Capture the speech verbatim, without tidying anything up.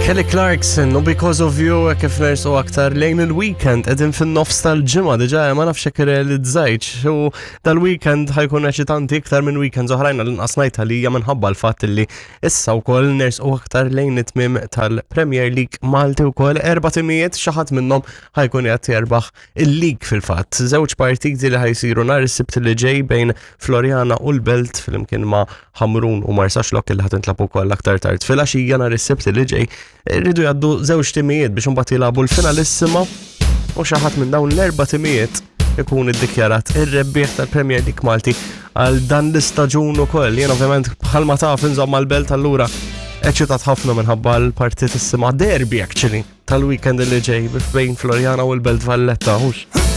Kelly Clarkson u Because of You, kif nersqu aktar lejn il-weekend, qegħdin fin-nofs tal-ġimgħa diġà, ma nafx hekk irrealizzajtx, u dal-weekend ħa jkun eċitanti iktar minn weekends oħrajn, għall-inqas ngħid għalija, minħabba l-fatt li issa wkoll nersqu aktar lejn it-tmiem tal-Premier League Malti wkoll. Erba' timijiet, xi ħadd minnhom ħa jkun qed jerbaħ il-league fil-fatt. Żewġ partiti li ħa jsiru nhar is-Sibt li ġej bejn Floriana u l-Belt flimkien ma' Ħamrun u Marsaxlokk, li ħa tintlagħab ukoll aktar tard filgħaxija nhar is-Sibt li ġej. Iridu jgħaddu żewġ timijiet biex imbagħad jilagħbu l-finalissima u xi ħadd minn dawn l-erba' timijiet ikun iddikjarat ir-rebbieħ tal-Premier League Malti għal dan l-istaġun ukoll. Jien ovvjament, bħalma taf, inżomm mal-Belt, allura eċitat ħafna minħabba l-partitissima derby actually tal-weekend li ġej bejn Floriana u l-Belt Valletta, hux.